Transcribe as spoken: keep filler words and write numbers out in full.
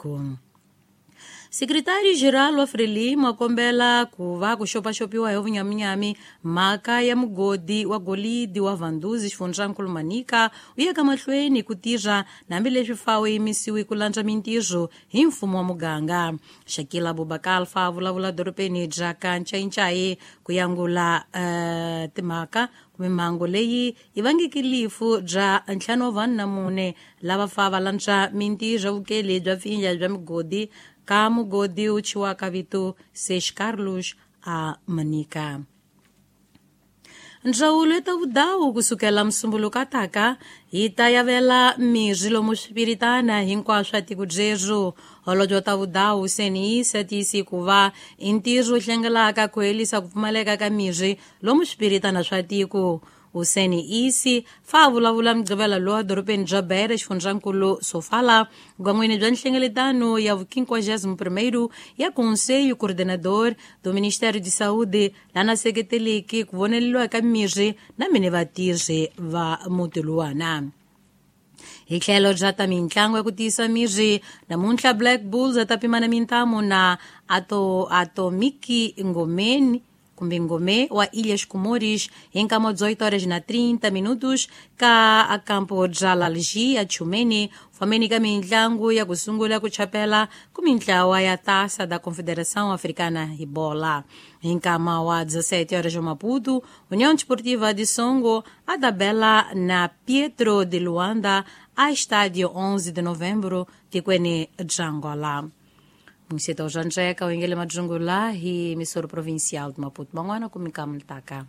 tiko. Secretário-geral wa Frelimo akombela ku va ku xopaxopiwa hi vunyaminyami mhaka ya mugodi wa golidi wa Vanduzi xifundzankulu Manica wu ya ka mahlweni ku tirha hambileswi fa wu yimisiwi ku landza mintirho hi mfumo wa muganga. Shakila Abubakar fa vulavula dorobeni bya ka Ncayincai ku yangula uh, timhaka kumbe mhangu leyi yi vangeke lifu bya ntlhanu wa vanhu na mune lava fa va landza mintirho vukeli bya pfinja bya migodi ka mugodi wu thyiwaka vito Seis Carlos a Manica. Ndzawulo ya ta vudawu kusukela musumbuluko ataka yi ta yavela mirhi lomu swipiritana hinkwaswo swa tiko byerhu. Holobye wa ta vudawu Senisa tiyisi ku va i ntirho wu hlengelaka ku herisa ku pfumaleka ka mirhi lomu swipiritana swa tiko. Hussein Isi fa vulavula mugqivela lowa dorobeni bya Beira xifundzankulu Sofala gwan'wini bya nhlengeletano ya vu-quinquagésimo primeiro ya Conselho Coordenador do Ministério de Saúde lana seketeleki ku voneliwa ka mirhi na mine vatirhi va muti luwana. Hi tlhelo bya ta mintlangu ya ku tiyisa mirhi namuntlha Black Bulls ta pimana mintamu na Ato Atomiki Ngomeni kumbe Ngome wa Ilhas Comores hi nkama dezoito horas na trinta minutos ka campo bya Lalgia Tchumene fameni ka mintlangu ya ku sungula ku chapela ku mintlawa ya Taça da Confederação Africana hi bola. Hi nkama wa dezessete horas Maputo, União Desportiva de Songo a tabela na Pietro de Luanda a estádio onze de novembro tikweni bya Angola. Munisita wa Zwanzeka u yingele madzungula hi misoro provincial de Maputo. Man'wana ku mika mutaka.